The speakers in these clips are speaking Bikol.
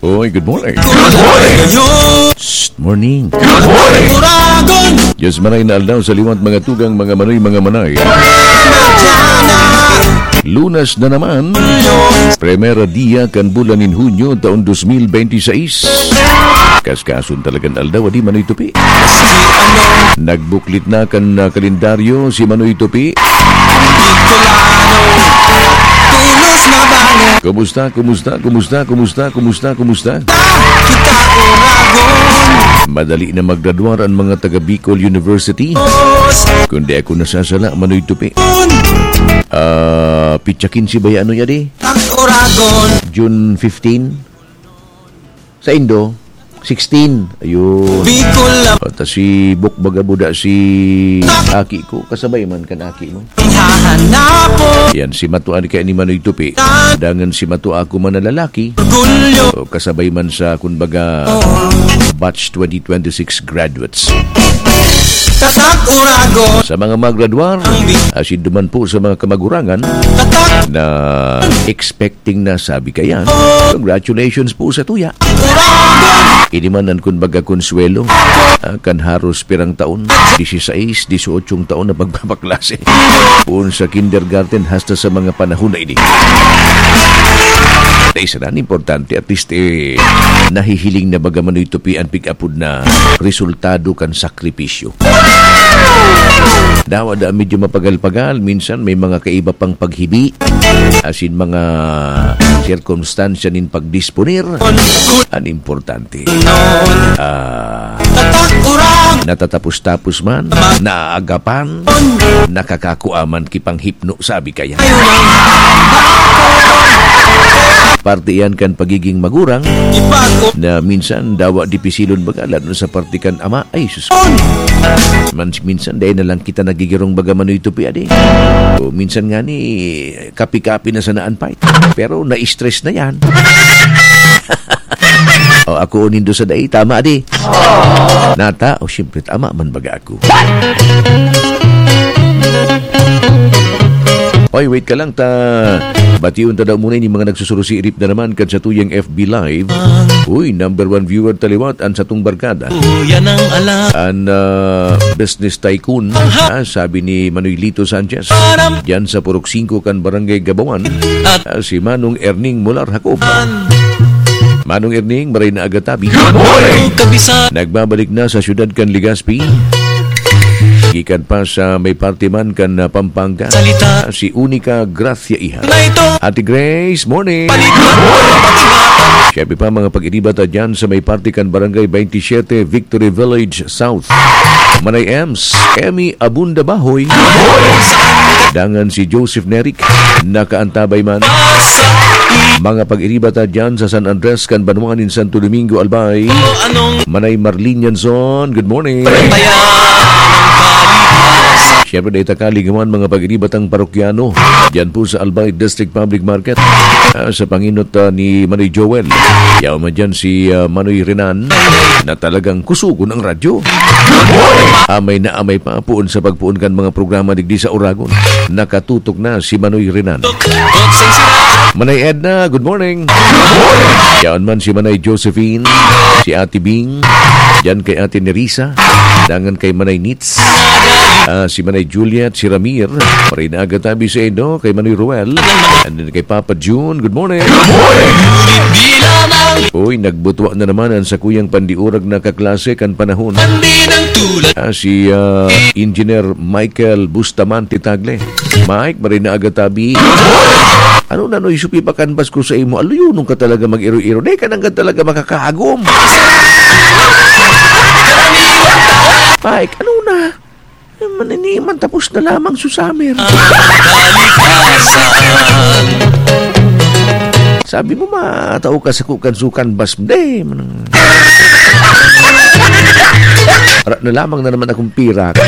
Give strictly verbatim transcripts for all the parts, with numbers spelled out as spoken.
Oy, good morning. Good morning. Shh, morning. Good morning. Uragon. Diyos manay na aldaw sa liwat, mga tugang, mga manoy, mga manay. Madana. Lunas na naman. Primera dia kan bulan nin Hunyo, taon dos mil benti seis. Kaskason talagang aldaw, adi, Manoy Tupi. Nagbuklit na kan, ah, kalendaryo si Manoy Tupi. Bicolano, tulos na bango. Kumusta, kumusta, kumusta, kumusta, kumusta, kumusta? Kita Uragon. Madali na maggraduar ang mga taga Bicol University. Kung di ako nasasala, Manoy Tupi. Ah, pitsa kinse ba yan? Ano yan eh? Ang Uragon. June fifteen. Sa Indo, sixteen. Ayun. Bicol na. O, ta si Bok Bagabuda, si aki ko, kasabay man kan aki mo. Hahanapon. Yan, si Matua ni kaya ni Manoy Tupi. Dangan si Matua ako man na lalaki. Orgulyo. O, kasabay man sa, kumbaga, batch twenty twenty-six graduates. Tatak Uragon. Sa mga magradwar, asin duman po sa mga kamagurangan Tatak. Na expecting na sabi kayan, congratulations po sa tuya. Uragon. Ini man ang kumbaga konsuwelo, ah, kan haros pirang taon, dieciséis, dieciocho taon na pagpapaklase. Poon sa kindergarten hasta sa mga panahon na ini. At isa na, importante, at least, eh, nahihiling na baga Manoy Tupi an pig-apod na resultado kan sakripisyo. Dawa da medyo mapagal-pagal, minsan may mga kaiba pang paghibi, asin mga sirkumstansya nin pagdisponer. An importante, ah, natatapos-tapos man, naagapan, nakakakua man ki panghipno, sabi kaya. Parte iyan kan pagiging magurang na minsan dawa dipisilon baga, lalo na sa parte kan ama. Ay, sus. Man, minsan dai na lang kita nagigirong baga Manoy Tupi, adi. O minsan ngani, kapi-kapi na sana an fight. Pero na-stress na yan. O, ako nindo sa dai, tama, adi. Nata, o, siyempre, tama man baga ako. Oy, wait ka lang ta. Bation ta daw muna ini mga nagsusurusiirip na naman kan satuyang F B Live. Uy, number one viewer ta liwat, an satong barkada. Uyan ang alam. An, ah, business tycoon, ah, sabi ni Manoy Lito Sanchez. Diyan sa Purok singko kan Barangay Gabawan, ah, si Manong Erning Molar Jacob. Manong Erning, maray na aga tabi. Good morning! Kabisa. Nagbabalik na sa siyudad kan Legazpi. Gikan pa sa may parte man kan, ah, Pampanga. Salita. Ah, si Unica Gracia Iha. Na ito. Ate Grace, morning. Balik na. Siyempre pa, mga pag-iriba ta dyan sa may parte kan Barangay twenty-seven, Victory Village South. Manay Ems, Emmy Abunda Bahoy. Dangan si Joseph Neric, nakaantabay man. Mga pag-iriba ta dyan sa San Andres kan banwa nin Santo Domingo, Albay. Manay Marlene Yanzon, good morning. Siyempre, dai ta kaligawan, mga pag-iriba tang parokyano. Diyan po sa Albay District Public Market. Ah, sa panginot, ah, ni Manoy Joel. Yaw man dyan si, ah, Manoy Renan na talagang kusugon ang radyo. Amay na amay pa, poon sa pagpoon kan mga programa digdi sa Uragon. Nakatutok na si Manoy Renan. Manay Edna, good morning. Yaon man si Manay Josephine, si Ate Bing, dyan kay Ate Nerissa, dangan kay Manay Nits, ah, si Manay Juliet, si Ramir, maray na aga tabi sa indo, kay Manoy Ruel, and then kay Papa June, good morning. Uy, nagbutwa na naman ang sakuyang pandiurag na kaklase kan panahon. Ah, si, ah, Engineer Michael Bustamante Tagle. Mike, maray na aga tabi. Ano na, no, isupi pa kanbas ko sa imo? Aluyonon ka talaga mag-iro-iro. Di ka nang talaga makakahagom. Mike, ano na? Eh, maniniman, tapos na lamang su summer. Sabi mo, matao ka sa kukan sukan bas mo. Di, manang. Ara na lamang na naman akong pirak.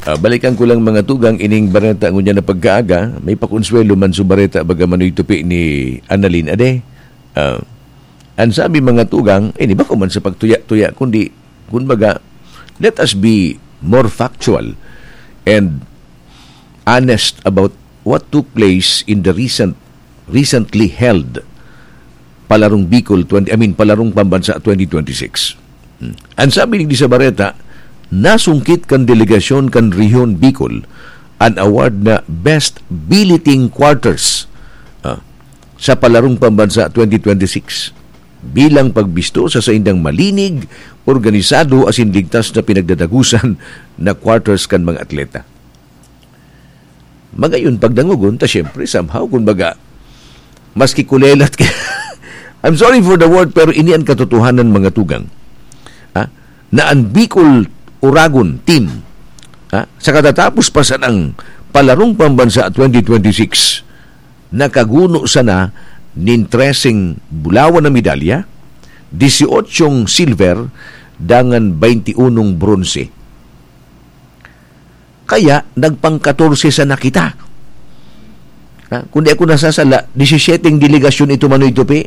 Ah, balikan ko lang, mga tugang, ining bareta ngunyan na pagkaaga. May pakonsuelo man su bareta, baga Manoy Tupi ni Annalyn Ade. Ah, ang sabi, mga tugang, ini bako man sa pagtuya-tuya, kundi, kumbaga, let us be more factual. and honest about what took place in the recent recently held Palarong Bicol twenty, I mean, Palarong Pambansa twenty twenty-six. Hmm. Ang sabi ni sa bareta, nasungkit kan delegasyon kan Rehiyon Bicol an award na Best Billeting Quarters, ah, sa Palarong Pambansa twenty twenty-six bilang pagbisto sa saindang malinig, organisado asin ligtas na pinagdadagusan na quarters kan mga atleta. Magayon pagdangogon ta, siyempre, somehow, kun baga, maski kulelat ka, I'm sorry for the word, pero ini an katotohanan, mga tugang. Ha? Na an Bicol Uragon team, ha? Sa katatapos pa sanang Palarong Pambansa twenty twenty-six, nakaguno sana nin treseng bulawan na medalya, disyotsyong silver, dangan baynti unong bronse. Kaya nagpang-katorse sana kita. Ha? Kung di ako nasasala, disyesiyete ang delegasyon ito, Manoy Tupi.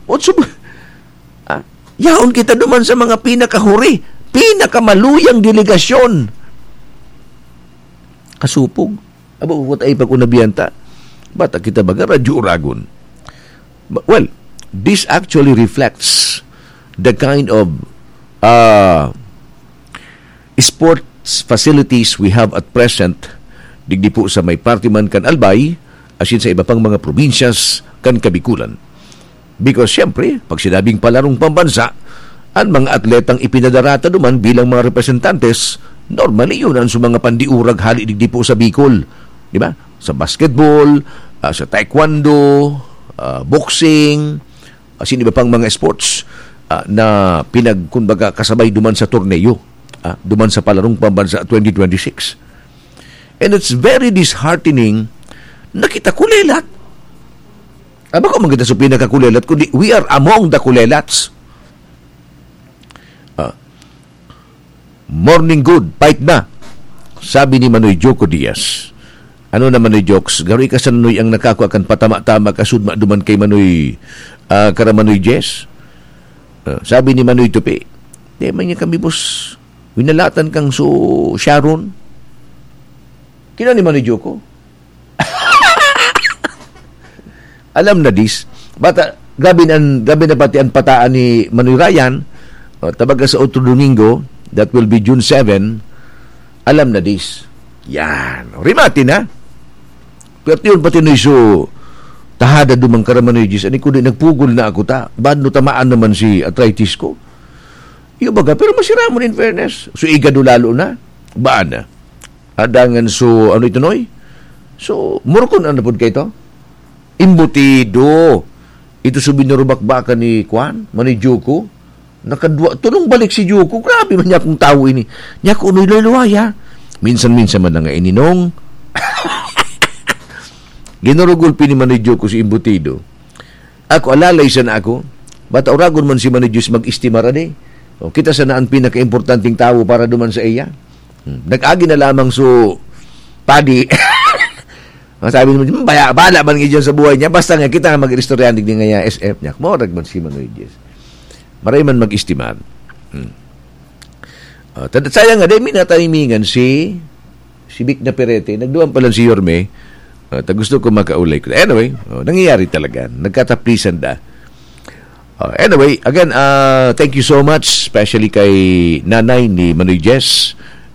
What's up? Ha? Yaon kita duman sa mga pinakahuri, pinakamaluyang delegasyon. Kasupog. Abo, what ay pag-unabihan ta? Bata kita baga, Radyo Uragon. But, well, this actually reflects the kind of, uh, sports facilities we have at present, digdi po sa may parte man kan Albay, asin sa iba pang mga probinsyas kan Kabikulan. Because, siyempre, pag sinabing palarong pambansa, ang mga atletang ipinadarata duman bilang mga representantes, normally yun ang sa mga pandiurag hali digdi po sa Bicol. Di ba? Sa basketball, ah, sa taekwondo, ah, boxing, asin iba pang mga sports, ah, na pinag-, kumbaga, kasabay duman sa torneo, ah, duman sa Palarong Pambansa twenty twenty-six. And it's very disheartening na kita kulelat. Ah, bako man kita sa pinakakulelat, kundi we are among the kulelats. Ah, "Morning good, fight na," sabi ni Manoy Joko Diaz. Ano na, Manoy Jokes? Garo ika sa Noy ang nakakua kan patama-tama kasudma duman kay Manoy, ah, kara Manoy Jess? Ah, sabi ni Manoy Tupi, "Di man niya kami, boss. Winalatan kang so Sharon." Kina ni Manoy Joko? Alam na dis. Bata, grabe na, grabe na pati ang pataan ni Manoy Ryan. O, tabaga sa otro Domingo, that will be June seven, alam na dis. Yan. Rimati na. Pero yun pati na iso, tahada dumang kara Manoy Jis. Ani ko di nagpugol na ako ta. Bad no tamaan naman si arthritis ko. Yung baga, pero masiramon in fairness. So, igado lalo na. Baan na? Adangan so, ano ito, Noy? So, murkon ano pod kayo to? Embutido. Ito so binurubakbakan ni Kwan, Manoy Joko. Nakadwa, tulong balik si Joko. Grabe man niya akong tawo ini. Niya ko, Noy, luway-luway, ha? Minsan-minsan man na nga ininong. Ginurugol pini Manoy Joko si embutido. Ako, alalay sana ako. Bata uragon man si Manoy Diyos mag-estimar, adi. O, kita sana ang pinakaimportanteng tawo para duman sa iya. Hmm. Nag-agi na lamang so padi. Ang sabi naman, "Hmm, baya, bala man nga dyan sa buhay niya. Basta nga kita nga mag-istoryahan digdi nga ya S F niya." Morag man si Manoy Diyos. Maray man mag-estimar. Hmm. Ah, tad-, sayang nga, dahil minatanimingan si, si Vic Naperete. Nagduman pa lang si Yorme. Ah, ta gusto ko makaulay ko. Anyway, oh, nangyayari talaga. Nagkataplisan da. Ah, anyway, again, ah, thank you so much, especially kay nanay ni Manoy Jess,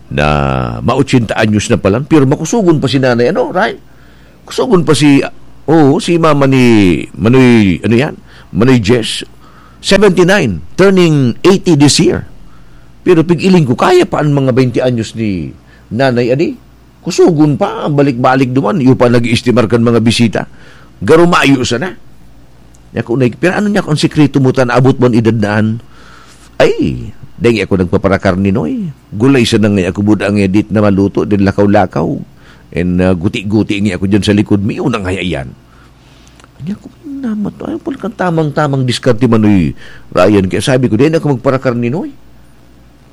na ma-ochenta anyos na pala. Pero makusugon pa si nanay, ano, right? Kusugon pa si, oh, si mama ni Manoy, ano yan? Manoy Jess, seventy-nine, turning eighty this year. Pero pig-iling ko, kaya pa ang mga twenty anyos ni nanay, adi? Kusugon pa, balik-balik duman, iyo pa nag-iistimar kan mga bisita. Garo mayo sana. Niya ko, "Nay, pero ano niya kung sikreto mo ta naabot mo an edad na an?" Ay, dahil ako nagpaparakar ni Noy. Gulay sa nangay ako buda nga dit na maluto, din lakaw-lakaw. And, uh, guti-guti nga ako dyan sa likod, may unang hayayan. Niya ko, "Namat, ay, pala kang tamang-tamang diskarte, Manoy Ryan." Kaya sabi ko, "Dahil ako magparakar ni Noy."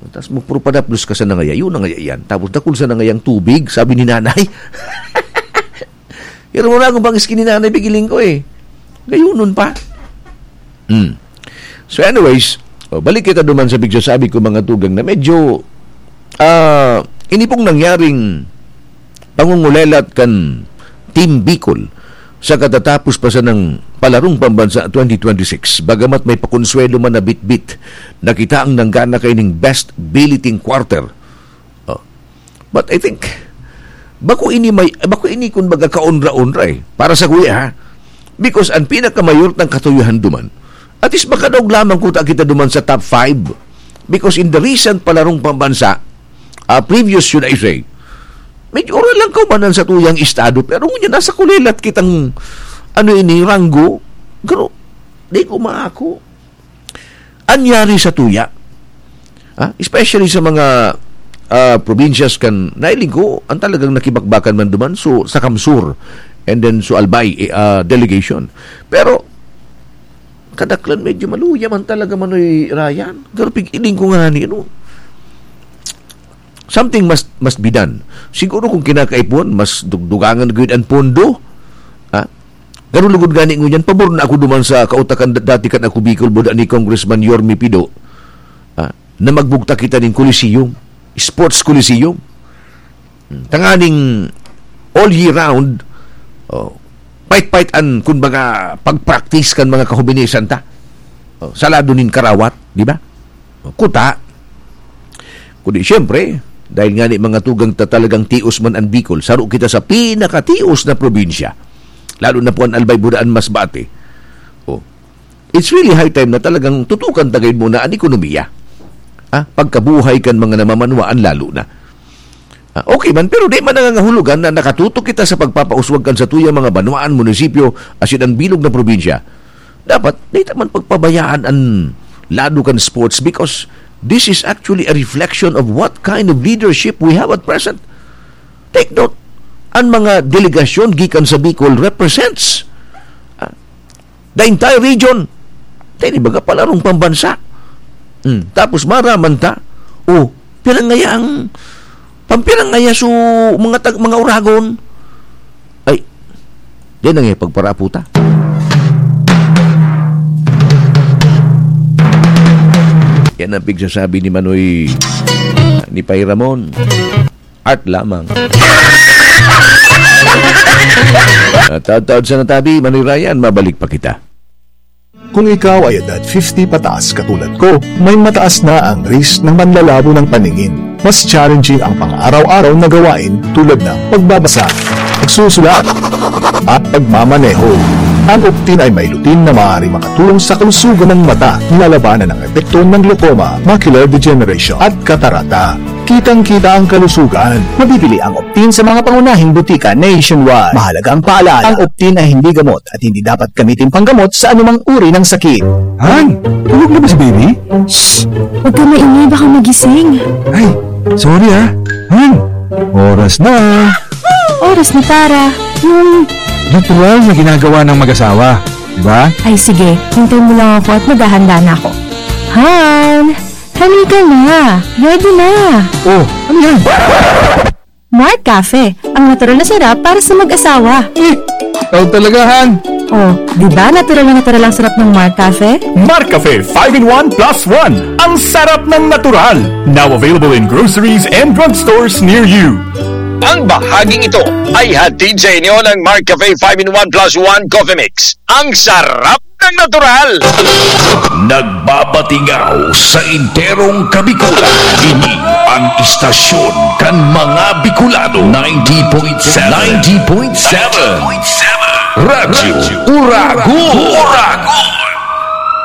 Tapos magpurupadaplos ka sa nangaya, yun nangaya yan. Tapos dakul sa nangayang tubig, sabi ni nanay. Pero wala akong pang-skin ni nanay, pigiling ko eh. Gayunon pa. Hmm. So anyways, oh, balik kita duman sa pigsasabi ko, mga tugang, na medyo, ah, ini pong nangyaring pangungulelat kan Team Bicol sa katatapos pa sanang palarong pambansa twenty twenty-six. Bagamat may pakonsuelo man na bitbit na kita ang nanggana kaining best billeting quarter. Oh. But I think, bako ini may, bako ini kun baga kaonra-onra eh, para sa kuya ha. Because ang pinakamayor ng katuyohan duman, at least makadaog lamang kuta kita duman sa top five. Because in the recent palarong pambansa, ah, previous, should I say, medyo oral lang kaubanan sa tuyang estado, pero ngunyan nasa kulelat kitang, ano ini, ranggo, pero di ko maako. Anyari sa tuya, ah, especially sa mga, ah, probinsyas kan, nailing ko, ang talagang nakibakbakan man duman, so, sa Kamsur, and then so Albay, eh, ah, delegation. Pero, kadaklan medyo maluya man talaga, Manoy Ryan. Pero pig-iling ko nga ni, ano, something must, must be done. Siguro kung kinakaipuhan, mas dugdugangan gud ang pondo. Ha? Pero lugod gani ngunyan, pabor na ako duman sa kautakan da-, dati kan ako Bicol, buda ni Congressman Yorme Pido, ha? Na magbugtak kita ning Coliseum, Sports Coliseum. Hmm, tanganing all year round, oh, pait-pait an, kumbaga, pag-practice kan mga kahubinesan ta. Oh, sa lado nin karawat, di ba? Oh, kuta. Kundi, siyempre, dahil nga ni mga tugang ta talagang tios man an Bicol, saro kita sa pinakatios na probinsya. Lalo na po an Albay, Budaan, Masbate. Oh, it's really high time na talagang tutukan ta gayud muna an ekonomiya. Ah, pagkabuhay kan mga namamanwaan lalo na. Ah, okay man, pero di man nangangahulugan na nakatutok kita sa pagpapauswag kan satuyang mga banwaan, munisipyo, asin an bilog na probinsya. Dapat, di ta man pagpabayaan an lado kan sports because this is actually a reflection of what kind of leadership we have at present. Take note, an mga delegasyon gikan sa Bicol represents, ah, the entire region. Tayo, di baga, palarong pambansa. Hmm. Tapos maraman ta, oh, pirang ngaya ang, pampirang ngaya so mga tag-, mga uragon. Ay, yan ang ipagparapo ta. Yan ang pigsasabi ni Manoy, ni Pay Ramon. Art lamang. At taod-taod sa natabi, Manoy Ryan, mabalik pa kita. Kung ikaw ay edad fifty pataas katulad ko, may mataas na ang risk ng manlalabo ng paningin. Mas challenging ang pang-araw-araw na gawain tulad ng pagbabasa, pagsusulat, at pagmamaneho. Ang Optin ay may lutein na maaari makatulong sa kalusugan ng mata, nilalabanan ang epekto ng glaucoma, macular degeneration, at katarata. Kitang-kita ang kalusugan. Mabibili ang Optin sa mga pangunahing butika nationwide. Mahalaga ang paalala, ang Optin ay hindi gamot at hindi dapat gamitin panggamot sa anumang uri ng sakit. Han, tulog na ba si baby? Shh! Huwag ka maingay, baka magising. Ay, sorry ah. Han, oras na. Oras na para yung natural na ginagawa ng mag-asawa, di ba? Ay sige, hintay mo lang ako at maghahanda na ako. Han, halika na. Ready na. Oh, ano yan? Mark Cafe, ang natural na sarap para sa mag-asawa. Eh, ikaw talaga, Han. Oh, di ba natural na natural ang sarap ng Mark Cafe? Mark Cafe five in one plus one. Ang sarap ng natural. Now available in groceries and drugstores near you. Ang bahaging ito ay hatid sa inyo ng Mark Cafe five in one plus one Coffee Mix. Ang sarap ng natural! Nagbabatingaw sa enterong Kabikulan. Ini ang istasyon kan mga Bicolano. Ninety point seven. Ninety point seven. Radyo Uragon.